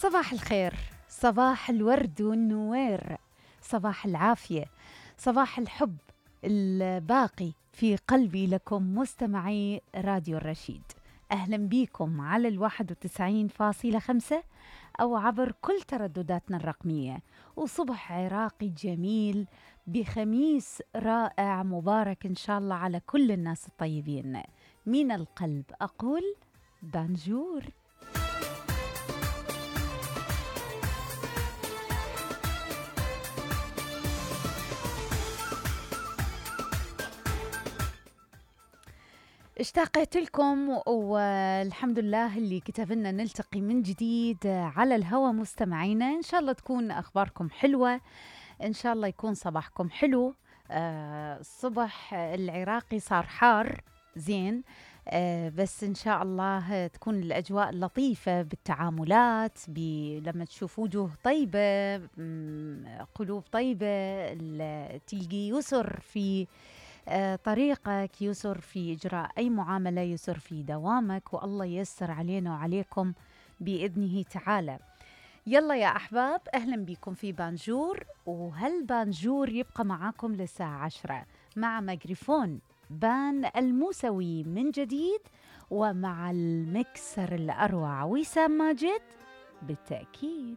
صباح الخير، صباح الورد والنوير، صباح العافية، صباح الحب الباقي في قلبي لكم مستمعي راديو الرشيد. أهلا بيكم على 91.5 أو عبر كل تردداتنا الرقمية، وصبح عراقي جميل بخميس رائع مبارك إن شاء الله على كل الناس الطيبين. من القلب أقول بانجور. اشتاقت لكم والحمد لله اللي كتب لنا نلتقي من جديد على الهوى مستمعينا. إن شاء الله تكون أخباركم حلوة، إن شاء الله يكون صباحكم حلو. الصبح العراقي صار حار زين، بس إن شاء الله تكون الأجواء لطيفة بالتعاملات، لما تشوف وجوه طيبة، قلوب طيبة، تلقي يسر في طريقك، يسر في إجراء أي معاملة، يسر في دوامك، والله ييسر علينا وعليكم بإذنه تعالى. يلا يا أحباب، أهلا بكم في بانجور، وهالبانجور يبقى معاكم للساعة 10 مع ميكروفون بان الموسوي من جديد، ومع المكسر الأروع وسام ماجد بالتأكيد.